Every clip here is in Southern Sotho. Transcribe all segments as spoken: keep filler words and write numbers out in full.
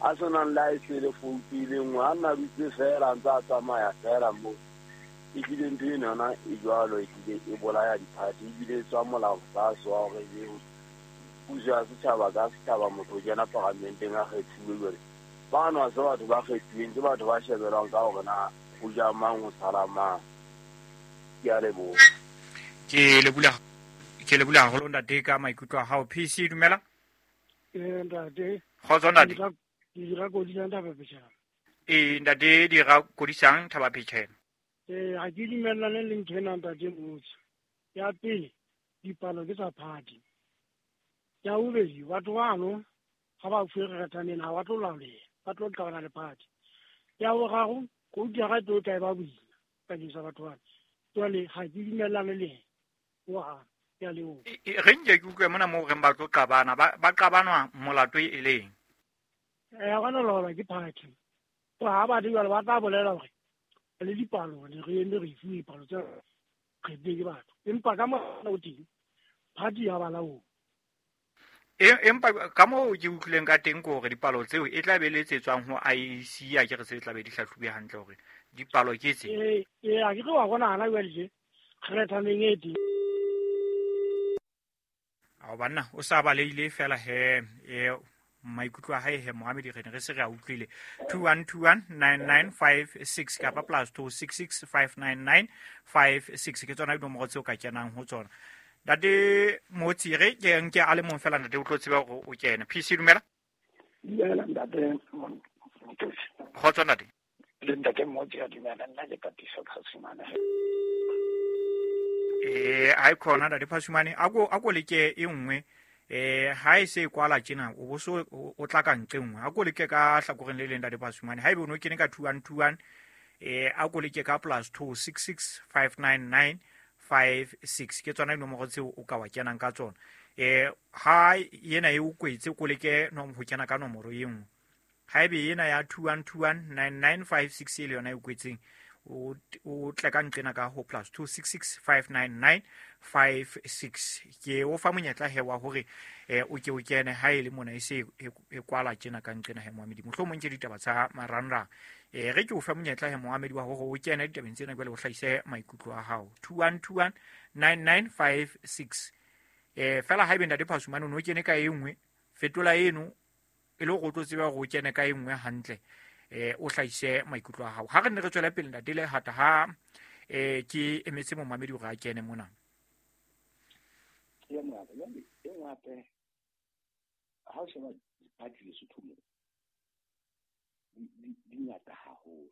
A senang le ha e se le foutu e le nngwe, a nna dutse feela a ntse a tsamaya feela moo. Ehlile ntho eno yona e jwalo, ehlile e bolaya di-party, ebile e tswa molao tlase wa hore e puso ya setjhaba ka setjhaba, motho o kena paramenteng a kgethuwe. Jwale bano ha se batho ba kgethuweng, ke batho ba shebelwang ka hore na ho ja mang, ho sala mang. Ke a leboha. Ke leboha, ke leboha haholo ntate ka maikutlo a hao. P C, dumela. Eh, ntate. Kgotso ntate. Ke dira kodisang Thaba Phechela. Eh, ntate, dira kodisang Thaba Phechela. Eh, ha ke dumellane le ntho ena ntate Motse. Ya pele, dipalo ke tsa party. Ya bobedi, batho bano ha ba fuwe kgethaneng, ha ba tlo laoleha, ba tlo qabana le party. Ya boraro, koutu ya ka e tlo tla e ba boima bakeng sa batho bana. Jwale ha ke dumellane le yena hohang. Ke a leboha. E, e, re nke ke utlwe mona moo reng ba tlo qabana, ba, ba qabanwa molato e leng? Eh, ha bana laolwa ke party. Ha ba di jwale ba tla bolela hore le dipalo, ne re eme re fuwe dipalo tse kgethilweng ke batho. Empa ka mora o teng, party ya ba laola. E, empa ka moo ke utlwileng ka teng ke hore dipalo tseo e tla be le tse tswang ho I E C, a ke re tse tla be di hlahlobuwe hantle hore dipalo ke tse. Eh, eh, a ke re wa bona hana jwale tje, kgethaneng e teng. Ao banna, o sa balehile fela he, eh, maikutlo a hae he, Mohammed, re ne re se re a utlwile. two one two one nine nine five six kapa plus two six six five nine nine five six ke tsona dinomoro tseo ka kenang ho tsona. Ntate Motsi, re ke nke a le mong fela ntate o tlo tseba hore o kene. P C, dumela. Dumela ntate Motsi. Kgotso ntate. Le ntate Motsi a dumela, nna ke Katiso Phasumane. Eh, ha e khona ntate Phasumane, a ko, a ko leke e nngwe. Eh, ha e se e kwala tjena, o bo so o, o tla ka nqe nngwe. A ko leke ka hlakoreng le leng ntate Phasumane. Haebe o no kene ka two one two one, eh, a ko leke ka plus two six six five nine nine five six. Ke tsona dinomoro tseo o ka wa kenang ka tsona. Eh, ha ena e o kwetse, ko leke no ho kena ka nomoro e nngwe. Haebe ena ya two one two one nine nine five six e le yona e o kwetseng, o, o tle ka nqena ka ho plus two six six five nine nine five six. Ke o fa monyetla he wa hore, eh, o ke o kene ha e le mona e se e, e kwala tjena ka nqena he Mohamedi. Mohlomong ke ditaba tsa marangrang. Eh, re ke o fa monyetla he Mohamedi wa hore o kene ditabeng tsena jwale o hlahise maikutlo a hao. two one two one nine nine five six. Eh, fela haebe ntate Phasumane o no kene ka e nngwe, fetola eno e le hore o tlo tseba hore o kene ka e nngwe hantle. Eh, o hlahise maikutlo a hao. Ha re ne re tswela pele ntate Lehata, ha, eh, ke emetse momamedi hore a kene mona. Ke ya mongaka, jwale e nngwe hape, ha o sheba di-party Lesotho moo, di, di, di ngata haholo.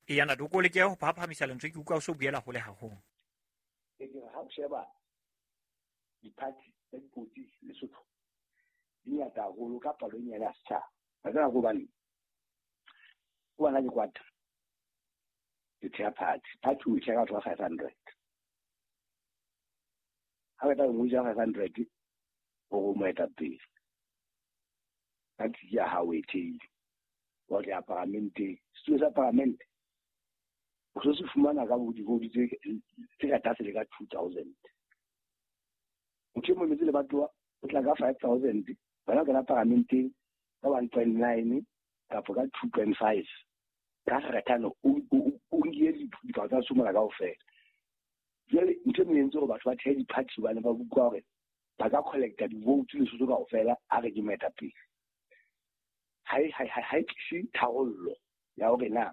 Eya, ntate, o ko leke ho phaphamisa lentswe, ke utlwa o so buela hole haholo. Ke re ha o sheba di-party tsa dipolotiki Lesotho, di ngata haholo ka palo e nyane ya setjhaba. Wa tseba ke hobaneng? Ke bona ke kwata. Ke theha party. Party o e theha ka batho ba five hundred. Ha o qeta ho ngodisa five hundred, hore o moetapele. Party ya hao e thehile. Wa tla paramenteng. Setulo sa paramente, o so se fumana ka bo divoutu tse, tse ka tlase le ka two thousand. Motho e mong metse le batho o tla ka five thousand, bana ba kena paramenteng ka one point nine kapa ka two point five. Ka kgethano, o, o, o, o nkile dipalo tsa Sumana kaofela. Jwale ntho e mong e entse hore batho ba thehe di-party hobane ba utlwa hore ba ka collecta di-votes Lesotho kaofela, a re ke moetapele. Ha e, ha e, ha e tlise tharollo ya hore na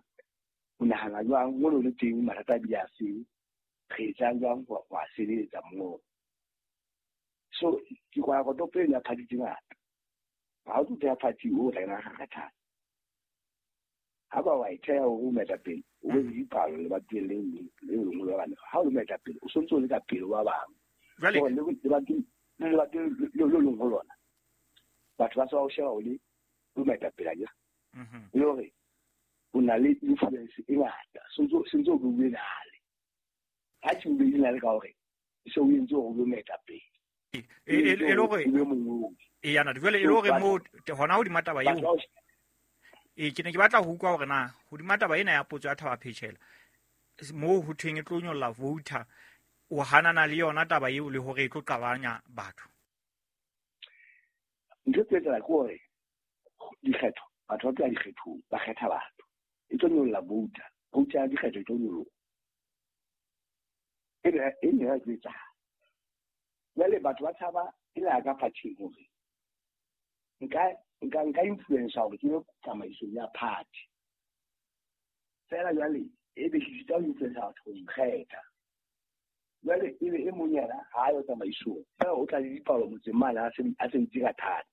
o nahana jwang mono le teng mathata a bile a seng, re etsang jwang ho, ho a sebeletsa moo. So ke kwala kotopo eno ya party tse ngata. Ha o tlo theha party o tla kena kgakgathana. Ha ba wa e theha hore o moetapele, o be le dipalo lebatoweng le leng le lengwe la bana. Ha o le moetapele, o sontse o le ka pele ho ba bang. Jwale Hore le lebatoweng, le lebatoweng le le leng ho lona, batho ba se ba o sheba o le o moetapele akere. Mhm. E le hore o na le influence e ngata, sontse, sontse o bue nale. Ha ke o bue nale ka hore se o entse hore o be moetapele. E, e, e, e le hore O be mongodi. E, yana, jwale e le hore moo, te-, hona hodima taba eo. Batho ba o E, ke ne ke batla ho utlwa hore na hodima taba ena ya potso ya Thaba Phechela, moo ho thweng e tlo nyolla voter, o hanana le yona taba eo le hore e tlo qabanya batho? Ntho e tlo etsahala ke hore dikgetho Batho ba tla dikgethong ba kgetha batho. E tlo nyolla vouta. Vouta ya dikgetho e tlo nyoloha. E ne e ne ya etsahala. Jwale batho ba tshaba e le ya ka party hore nka nka nka influence hore ke be tsamaisong ya party. Fela jwale e be ke sita ho influence batho ho nkgetha. Jwale e be e mong yena ha a yo tsamaisong. Fela o tla le dipalo motseng mane a se a se ntse ka thata.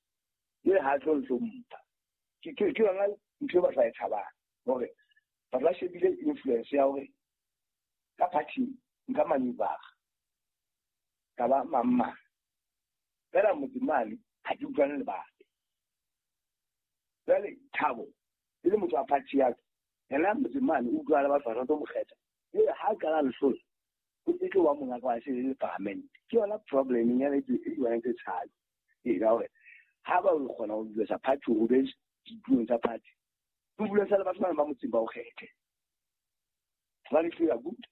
Jwale ha a tlo hlompha. Ke ke ke yona ntho e batho ba e tshabang hore batho ba shebile influence ya hore ka party nka maneuver ka ba mamma. Fela motseng mane ha ke utlwane le batho. Jwale Thabo e le motho wa party ya ka, yena motseng mane o utlwana le batho ba tlo mo kgetha. Jwale ha a qala lehlola o tlo wa monga ka se le parliament. Ke yona problem ya e e tse tshabe. E ka hore ha ba o kgona ho influence party o be dipuong tsa party. Influence le batho ba ba motseng ba o kgethe. Hobane ke ya good.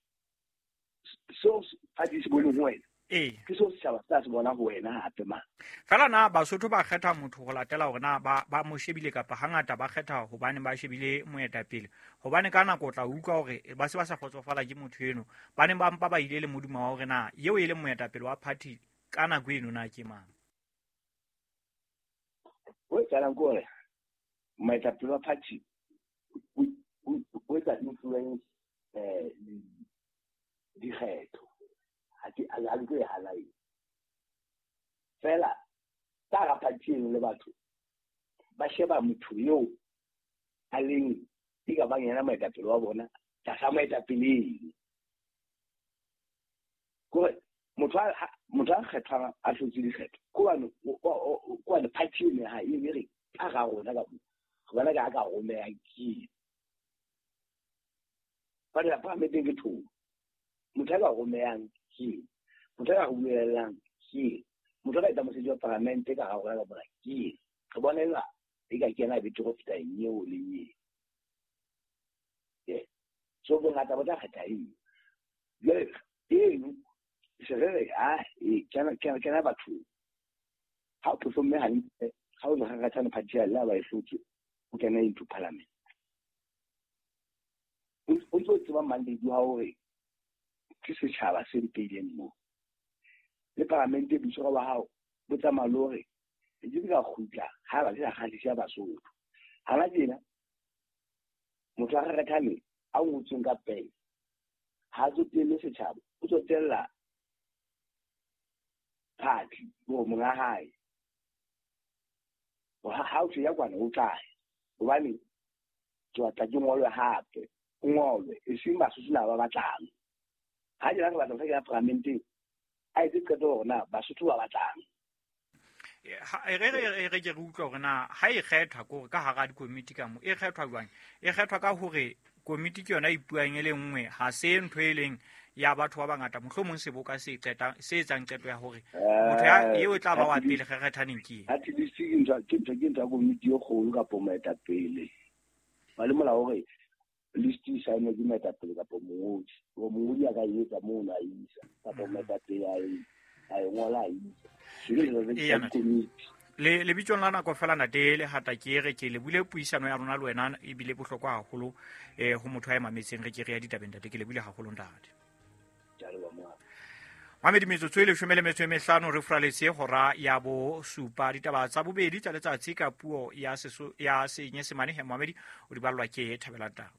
So party se bone ho wena. Ee. Ke seo setjhaba se tla se bona ho wena hape ma. Fela na Basotho ba kgetha motho ho latela hore na ba ba mo shebile kapa hangata ba kgetha hobane ba shebile moetapele. Hobane ka nako o tla utlwa hore ba se ba sa kgotsofala ke motho eno. Ba ne ba mpa ba ile le modimo wa hore na eo e leng moetapele wa party ka nako eno na ke mang. O etsahalang ke hore moetapele wa party o etsa influence eh dikgetho. Ha ke ha ke e hana eo. Fela ka hara party eno le batho ba sheba motho eo a leng e ka bang yena moetapele wa bona tlasa moetapele eno. Kore motho a motho a kgethwang a hlotse dikgetho ke hobane ke hobane party eno ya hae e re ka hara rona ka moo re bona ka ka romeyang ke eng. Jwale paramenteng ke thomo. Motho a ka romeyang ke eng? Motho a ka buellang ke eng? Motho a ka etsa mosebetsi wa paramente ka hara rona ka mona ke eng? Re bona eka e ka kena betere ho feta eo le eo. Yeah. So bongata bo tla kgetha eo. Jwale eno se re re ah e kena kena kena bathong. Ha o performe hantle, ha o kgatha party ya la ba e hlotse, o kena into parliament. O ntso tseba mandate wa hore ke setjhaba se mpeileng moo. Le paramente boitshwaro ba hao bo tsamaya le hore ke ke ka kgutla ha ba ke sa kgahlise Basotho. Hana tjena motho a kgethane a ngotsweng ka pele ha tsotelle setjhaba, o tsotella party bo monga hae. Ha o ya kwana o tla hobane ke batla ke ngolwe hape, o ngolwe e seng Basotho na ba batlang. Ha ke re batla ho kena paramenteng a etse qeto hore na Basotho ba batlang. Re re re ke re utlwa hore na ha e kgethwa ke hore ka hara dikomiti ka mo e kgethwa jwang? E kgethwa ka hore komiti ke yona e ipuang e le nngwe, ha se ntho e leng ya batho ba bangata, mohlomong seboka se qeta se etsang qeto ya hore motho ya eo e tla ba wa pele kgethaneng ke eng. At least ke ntho ke ntho ke ntho ya komiti e kgolo kapa moetapele. Ba le molao hore list e saenwe ke moetapele kapa mongodi. Hore mongodi a ka e etsa mono a isa kapa moetapele a e a e ngola a isa. Le lebitsong la nako fela ntate le hata ke re ke le bule puisano ya rona le wena e bile bohlokwa haholo eh ho motho a mametseng re ke re ya ditabeng ntate ke le bule haholo ntate. Mamedi metsotso e leshome le metso e mehlano re furaletse hora ya bo supa ditaba tsa bobedi tsa letsatsi ka puo ya seso ya Senyesemane he Mamedi o di ballwa ke Thabela Tau.